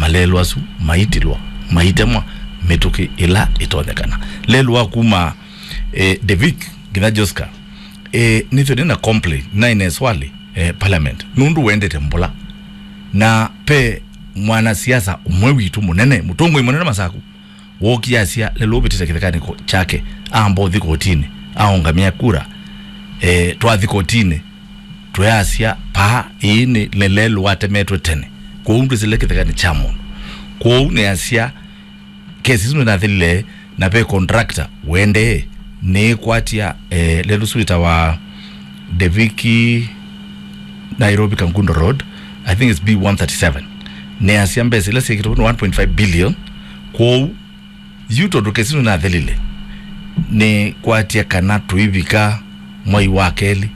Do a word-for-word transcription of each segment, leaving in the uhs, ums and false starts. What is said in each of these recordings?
malelũ asu maitilwa, maitemwa mĩtũkĩ ĩla ĩtonyekana. Lelũ wa kuma, eh, Devik nginya Joska, eh, nĩtwene na complain, na ine swali, eh, parliament, nũndũ wendete mbũla. Na pe mwanasiasa ũmwe witũ mũnene, mũtongoi mũnene Masaku, wookie asya, lelũ ũvĩtĩte kĩthekanĩ ko-, kyake, amba ũthi kotinĩ, aũngamĩa kura, eh, twathi kotinĩ, twĩasya, paa, ĩĩ nĩ, nĩ lelũ watemetwe tene. Kwoou ndwĩsĩle kĩthekanĩ kya mũndũ. Kwoou nĩasya, kesi ĩsu nĩnathelile, na ve contractor wendee, nĩkwatya, eh, lelũ ũsu wĩtawa Deviki Nairobi Kangundo Road, I think it's B one thirty-seven. Nĩasya mbesa ila syĩkĩtwe nĩ one point five billion. Kwoou yu tondũ kesi ĩsu nĩnathelile, nĩkwatya kana tũivika mwai wa kelĩ,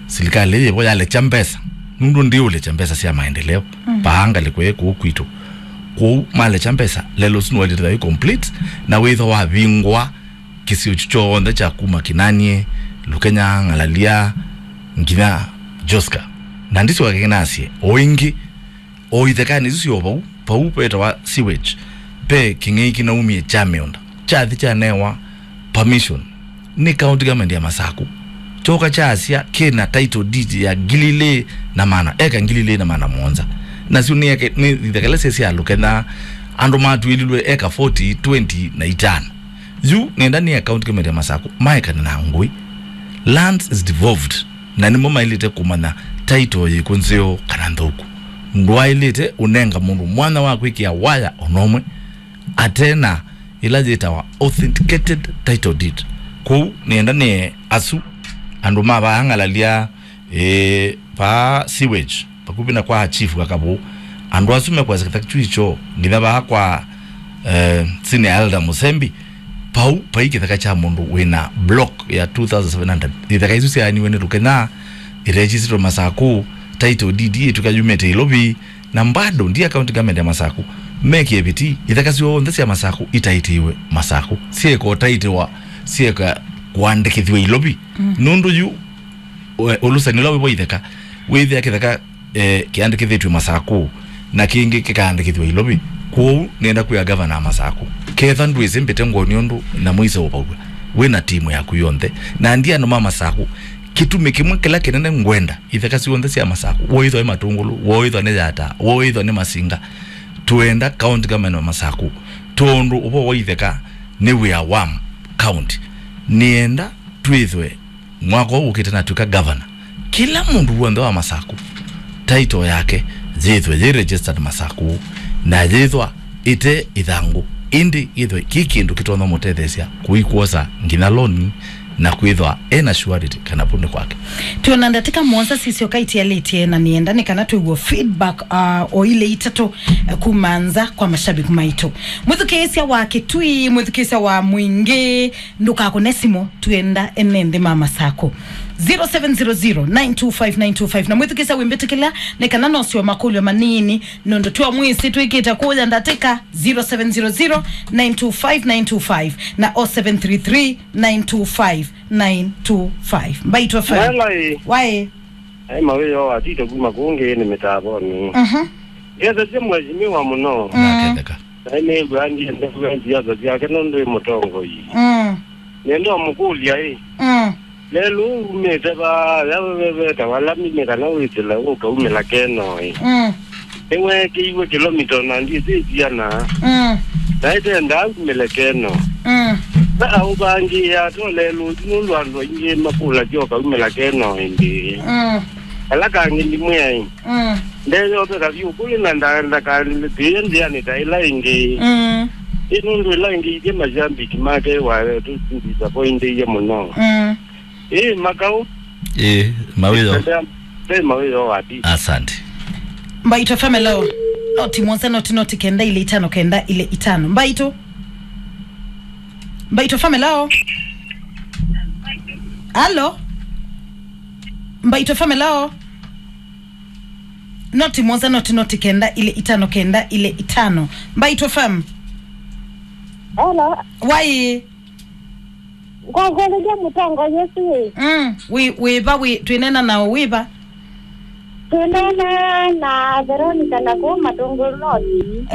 silikalĩ yĩvo yalekya mbesa, nũndũ ndiũlekya mbesa sya maendeleo, mm, paa ngalĩko ĩ kũu kwitũ. Kwoou malekya mbesa, lelũ ũsu nĩwailĩte thayũ complete, na wĩthwa wavingwa kĩsio kyu kyonthe kya kuma Kinanie, Lukenya, Ng'alalia, nginya Joska. Na ndisyoka kĩnasye, o ĩngĩ, o ithekanĩ isu syo vau, vau vetawa sewage, ve kĩng'ei kĩnaumie kya mĩũnda, kyathi kyanewa permission nĩ county government ya Masaku. Kyoka kyasya kĩna title deed ya ngili ilĩ na maana, eka ngili ilĩ na maana mũonza. Nasyo nĩ eke-, nĩ itheka ila syĩ sya Lukenya, andũ matw'ĩlilwe eka forty, twenty na itano. Yu nenda nĩ county government ya Masaku maekane na ngũĩ. Lands is devolved, na nĩmo maĩlĩte kũmanya title yĩkũ nzeo kana nthũku. Ndwaĩlĩte ũnenga mũndũ mwanya wa kwĩkĩa waya ona ũmwe ate na ĩla yĩtawa authenticated title deed. Kwoou nĩenda nĩe asu andũ ma vaa Ng'alalia, ĩĩ, vaa sewage, vakuvĩ na kwa chief Kakavũ, andũ asu mekwasya kĩtheka kyu icho nginya vaa kwa, eh, senior elder Mũsembi, vau vai kĩtheka kya mũndũ wĩna block ya two thousand seven hundred. Itheka isu syaaniwe nĩ Lukenya, iregistrĩtwe Masaku, title deed ĩtw'ĩka yumĩte Ilovi, na bado ndia county government ya Masaku mekie viti, itheka syonthe sya Masaku itaitiwe Masaku, syĩko taitiwa, syĩka kũandĩkĩthw'a Ilovi. Mm. Nũndũ yu, we, ũlusani ũla wĩ wa itheka, wĩthĩa kĩtheka, eh, kĩandĩkĩthĩtw'e Masaku, na kĩngĩ kĩkaandĩkĩthw'a Ilovi. Kwoou nĩenda kwĩa gavana wa Masaku, ketha ndwĩsĩ mbĩte ngũnĩ ũndũ na mũise ũvaw'a, wĩ na timu yaku yonthe, na ndia andũ ma Masaku, kĩtumi kĩmwe kĩla kĩnene ngwenda itheka syonthe sya Masaku, woĩthwa nĩ Matũngũlũ, woĩthwa nĩ Yata, woĩthwa nĩ Masinga, twenda county government wa Masaku, tondũ ũvoo wa itheka nĩ wĩa wa county. Nĩenda twĩthwe mwaka ũũ ũkĩte natw'ĩka governor, kĩla mũndũ w'onthe wa Masaku, title yake yĩthwe yĩ registered Masaku, na yĩthwa ĩte ĩthangũ, ĩndĩ yĩthwe kĩ kĩndũ kĩtonya mũtetheesya kũikwosa nginya loan na kwĩthwa ena surety kana vu nĩ kwake. Twĩona ndatĩka mũonza sisyoka itialĩtye, na nĩenda nĩ kana twĩw'e feedback, uh, o ile itatũ, uh, kuma nza kwa mashabiki maitũ. Mwĩthukĩĩsya wa Kĩtui, mwĩthukĩĩsya wa Mwingĩ, ndũkakũne simũ, twĩenda ene nthĩ ma Masaku. Zero seven zero zero, nine two five, nine two five. Na mwĩthukĩĩsya wĩmbĩtĩkĩla, nĩ kana nosyo makũlyo manini, nũndũ twamwĩsĩ twĩkĩte kũya ndatĩka. Zero seven zero zero, nine two five, nine two five na oh seven three three, nine two five, nine two five. Mbaitũ F M. Hello, ĩ. Waĩ. Ai mawĩo atito kuma kũngĩ nĩ mĩtavonĩ. Mhm. Ngethesye mheshimiwa mũno. Mm. Naketheka. Na nĩw'a ndiendew'a siasa syake nũndũ ĩ mũtongoi. Mm. Nĩenda ũmũkũlya ĩ. Mm. Lelũ umĩte vaa, ya we, we, wetawa lami nĩ kana wĩsĩle ũkaumĩla Kenoi. Mm. Nĩweekĩiwe kĩlomita ona ndiĩsĩ siana. Mm. Na ĩtendaa umĩle Kenoi. Mm. Na aũvangĩĩa to lelũ nũndũ andũ aingĩ makũlasya ũkaumĩla Kenoi ĩndĩ. Mm. Ala kangĩ ndimwĩai. Mm. Ndeyoveka vyũ kũlĩ na nda-, ndakatĩĩe nzĩanĩ ta ĩla ĩngĩ. Mm. Ĩ nũndũ ĩla ĩngĩ ithyĩ mashabiki make wa tũdisappointie mũno. Mm. Ĩ, Makau. Ĩ, mawĩo. Ve mawĩo wa ti. Asante. Mbaitũ F M, hello. Noti mũonza, noti, noti kenda, ile itano, kenda, ile itano. Mbaitũ. Mbaitũ F M, hello. Hello. Mbaitũ F M, hello. Noti mũonza, noti, noti kenda, ile itano, kenda, ile itano. Mbaitũ F M. Hello. Waĩ. Ngwakwelelya mũtongo Yesu ĩ. Mm, wĩ, wĩva, wĩ, twĩnena nao wĩva? Twĩnena na Veronica na kũu Matũngũlũ North.